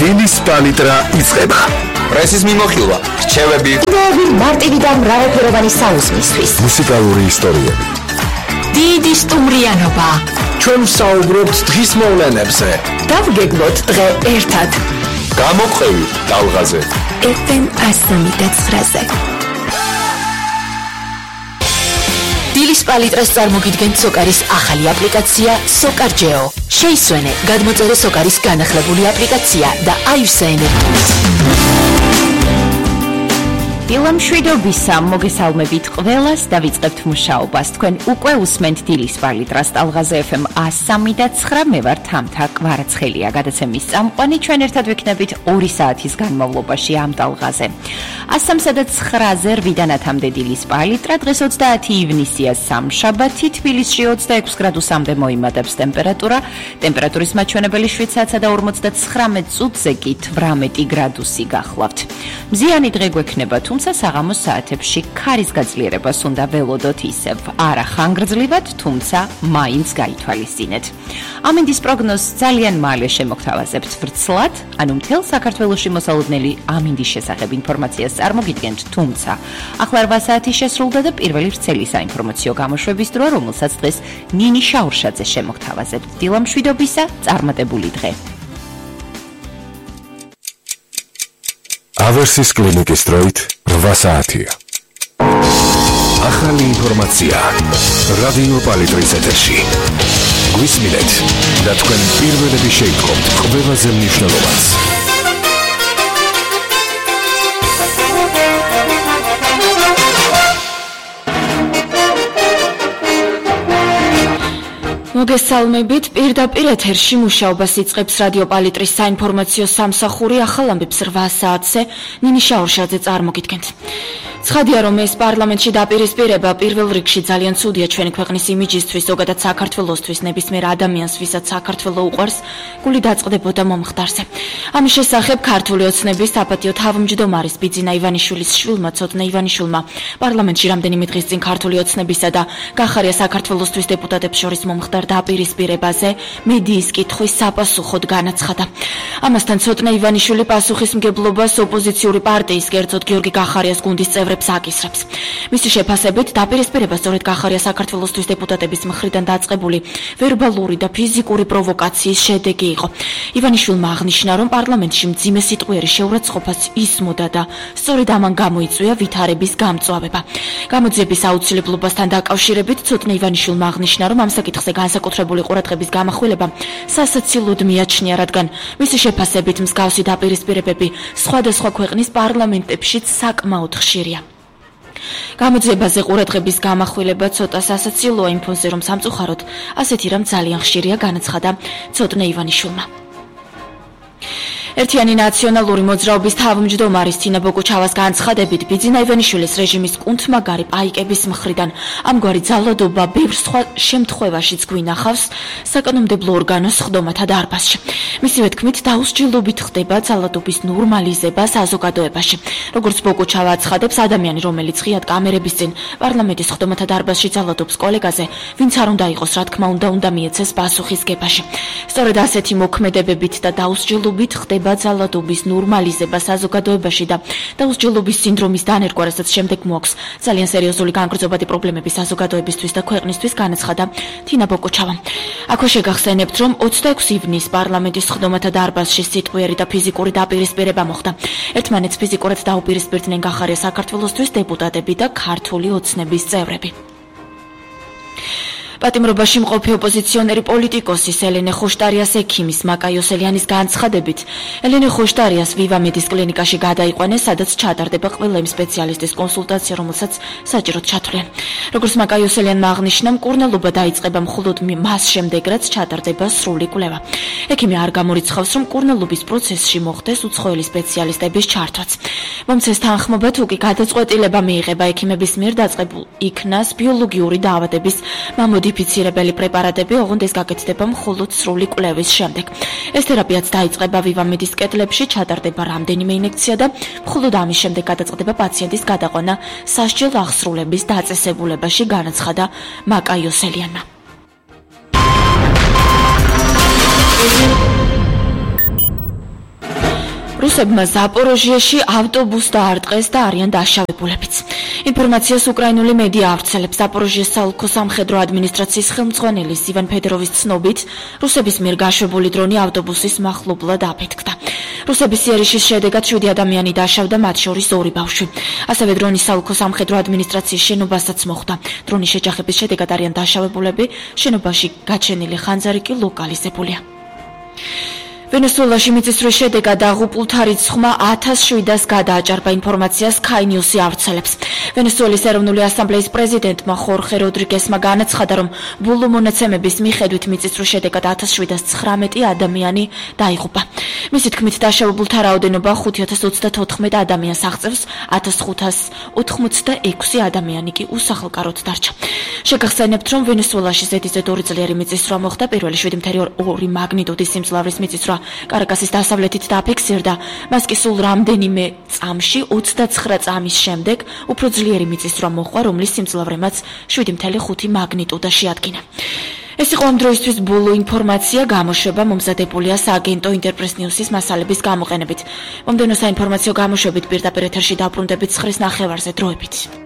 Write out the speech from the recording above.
დილის პალიტრა იწყება. პრესის მიმოხილვა, რჩევები, მარტივი და მრავალფეროვანი საუზმისთვის. მუსიკალური ისტორიები. დიდი სტუმრიანობა. ჩვენ ვსაუბრობთ დღის მოვლენებზე. დავგეგმოთ დღე ერთად. გამოყვევი ტალღაზე. FM 103-ზე. დილის პალიტრას წარმოგიდგენთ სოკარის ახალი აპლიკაცია SOCARGEO. შეისვენე, გადმოწერე სოკარის განახლებული აპლიკაცია და აივსე ენერგიით. დილამშვიდობისა, მოგესალმებით ყველას და ვიწყებთ მუშაობას. თქვენ უკვე უსმენთ დილის პალიტრას ტალღაზე FM 103 მე ვარ თამთა კვარაცხელია. გადაცემის წამყვანი ჩვენ ერთად ვიქნებით 2 საათის განმავლობაში ამ ტალღაზე. 103-ზე 8-დან 10-მდე დილის პალიტრა, დღეს 30 ივნისია სამშაბათი, თბილისში 26 გრადუსამდე მოიმატებს ტემპერატურა, ტემპერატურის მაჩვენებელი 7-სა და 59 წუთზე კი 18 გრადუსი გახლავთ. მზიანი დღე გვექნება, თუმცა საღამოს საათებში ქარის გაძლიერებას უნდა ველოდოთ ისევ. არა ხანგრძლივად, თუმცა მაინც გაითვალისწინეთ. ამინდის პროგნოზს ძალიან მალე შემოგთავაზებთ ვრცლად, ანუ მთელ საქართველოში მოსალოდნელი ამინდის შესახებ ინფორმაციას წარმოგიდგენთ, თუმცა ახლა 8 საათი შესრულდა და პირველი ვრცელი საინფორმაციო გამოშვების დროა, რომელსაც დღეს ნინი შაურშაძე შემოგთავაზებთ. დილამშვიდობისა, წარმატებული დღე. ავერსის კლინიკის დროით 8 საათია. ახალი ინფორმაცია რადიო პალიტრის ეთერში. გვისმინეთ და თქვენ პირველები შეიტყობთ ყველაზე მნიშვნელოვანს. მოგესალმებით, პირდაპირ ეთერში მუშაობას იწყებს რადიო პალიტრის საინფორმაციო სამსახური. ახალ ამბებს 8 საათზე ნინი შაურშაძე წარმოგიდგენთ. ცხადია, რომ ეს პარლამენტში დაპირისპირება პირველ რიგში ძალიან ცუდია ჩვენი ქვეყნის იმიჯისთვის, ზოგადად საქართველოსთვის, ნებისმიერ ადამიანს, ვისაც საქართველო უყვარს, გული დაწყდებოდა მომხდარზე. ამის შესახებ ქართული ოცნების საპატიო თავმჯდომარის ბიძინა ივანიშვილის შვილმა, ცოტნე ივანიშვილმა, პარლამენტში რამდენიმე დღის წინ ქართული ოცნებისა და გახარია საქართველოსთვის დეპუტატებს შორის მომხდარ დაპირისპირებაზე მედიის კითხვის საპასუხოდ განაცხადა. ამასთან ცოტნე ივანიშვილი პასუხისმგებლობას ოპოზიციური პარტიის, კერძოდ გიორგი გახარიას გუნდის წევრებს აკისრებს. მისი შეფასებით, დაპირისპირება სწორედ გახარია საქართველოსთვის დეპუტატების მხრიდან დაწყებული ვერბალური და ფიზიკური პროვოკაციის შედეგი იყო. ივანიშვილმა აღნიშნა, რომ პარლამენტში მძიმე სიტყვიერი შეურაცხყოფას ისმოდა და სწორედ ამან გამოიწვია ვითარების გამწვავება. გამოძიების აუცილებლობასთან დაკავშირებით ცოტნე ივანიშვილმა აღნიშნა, რომ ამ საკითხზე განსაკუთრებული ყურადღების გამახვილება სასაცილოდ მიაჩნია, რადგან მისი შეფასებით მსგავსი დაპირისპირებები სხვადასხვა ქვეყნის პარლამენტებშიც საკმაოდ ხშირია. გამოძიებაზე ყურადღების გამახვილება ცოტა სასაცილოა იმ ფონზე, რომ სამწუხაროდ ასეთი რამ ძალიან ხშირია, განაცხადა ცოტნე ივანიშვილმა. ერთიანი ნაციონალური მოძრაობის თავმჯდომარის თინა ბოკუჩავას განცხადებით, ბიძინა ივანიშვილის რეჟიმის კუნთმაგარი პაიკების მხრიდან ამგვარი ძალადობა ბევრ სხვა შემთხვევაშიც გვინახავს საკანონმდებლო ორგანოს სხდომათა დარბაზში. მისივე თქმით, დაუსჯელობით ხდება ძალადობის ნორმალიზება საზოგადოებაში. როგორც ბოკუჩავა აცხადებს, ადამიანი, რომელიც ღიად კამერების წინ პარლამენტის სხდომათა დარბაზში ძალადობს კოლეგაზე, ვინც არ უნდა იყოს, რა თქმა უნდა მიეცეს პასუხისგებაში. სწორედ ასეთი მოქმედებებით და დაუსჯელობით ხდება ძალადობის ნორმალიზება საზოგადოებაში და დაუსჯელობის სინდრომის დანერგვა, რასაც შემდეგ მოაქვს ძალიან სერიოზული განგრძობადი პრობლემები საზოგადოებისთვის და ქვეყნისთვის, განაცხადა თინა ბოკუჩავა. აქვე შეგახსენებთ, რომ 26 ივნის პარლამენტის სხდომათა დარბაზში სიტყვიერი და ფიზიკური დაპირისპირება მოხდა. ერთმანეთს ფიზიკურად დაუპირისპირდნენ გახარია საქართველოსთვის დეპუტატები და ქართული ოცნების წევრები. პატიმრობაში მყოფი ოპოზიციონერი პოლიტიკოსის ელენე ხოშტარიას ექიმის მაკა იოსელიანის განცხადებით, ელენე ხოშტარიას ვივამედის კლინიკაში გადაიყვანეს, სადაც ჩატარდება ყველა იმ სპეციალისტის კონსულტაცია, რომელსაც საჭიროდ ჩათვლიან. როგორც მაკა იოსელიანმა აღნიშნა, მკურნალობა დაიწყება მხოლოდ მას შემდეგ, რაც ჩატარდება სრული კვლევა. ექიმი არ გამორიცხავს, რომ მკურნალობის პროცესში მოხდეს უცხოელი სპეციალისტების ჩართვაც. მომცეს თანხმობა თუ კი გადაწყვეტილება მიიღება ექიმების მიერ დაწყებულ იქნას ბიოლოგიური დაავადების მამოდიფიცირებელი პრეპარატები, ოღონდ ეს გაკეთდება მხოლოდ სრული კვლევის შემდეგ. ეს თერაპიაც დაიწყება ვივამედის კედლებში, ჩატარდება რამდენიმე ინექცია და მხოლოდ ამის შემდეგ გადაწყდება პაციენტის გადაყვანა სასჯელ აღსრულების დაწესებულებაში, განაცხადა მაკა იოსელიანმა. რუსებმა ზაპოროჟიაში ავტობუსს დაარტყეს და არიან დაშავებულებიც. ინფორმაციას უკრაინული მედია ავრცელებს. ზაპოროჟიეს საოლქო სამხედრო ადმინისტრაციის ხელმძღვანელის ივან ფედეროვის ცნობით, რუსების მიერ გაშვებული დრონი ავტობუსის მახლობლად აფეთქდა. რუსების იერიშის შედეგად 7 ადამიანი დაშავდა, მათ შორის 2 ბავშვი. ასევე დრონის საოლქო სამხედრო ადმინისტრაციის შენობასაც მოხვდა. დრონის შეჯახების შედეგად არიან დაშავებულები, შენობაში გაჩენილი ხანძარი კი ლოკალიზებულია. ვენესუელაში მიწისძვრის შედეგად დაღუპულთა რიცხვმა 1700-ს გადააჭარბა, ინფორმაციას Sky News-ი ავრცელებს. ვენესუელის ეროვნული ასამბლეის პრეზიდენტმა ხორხე როდრიგესმა განაცხადა, რომ ბოლო მონაცემების მიხედვით მიწისძვრის შედეგად 1719 ადამიანი დაიღუპა. მისი თქმით, დაშავებულთა რაოდენობა 5034 ადამიანს აღწევს, 1586 ადამიანი კი უსახლკაროდ დარჩა. შეგახსენებთ, რომ ვენესუელაში ზედიზედ 2 წლიერი მიწისძვრა მოხდა. პირველი 7.2 მაგნიტუდის სიმძლავრის მიწისძვრა კარაკასის დასავლეთით დააფიქსირდა. მას კი სულ რამდენიმე წამში 29 წამის შემდეგ უფრო ძლიერი მიწისძვრა მოჰყვა, რომლის სიმძლავრემაც 7.5 მაგნიტუდა შეადგინა. ეს იყო ამ დროისთვის ბოლო ინფორმაცია, გამოშვება მომზადებულია სააგენტო ინტერპრეს ნიუსის მასალების გამოყენებით. მომდევნო საინფორმაციო გამოშვებით პირდაპირ ეთერში დავბრუნდებით 9:30-ზე დროებით.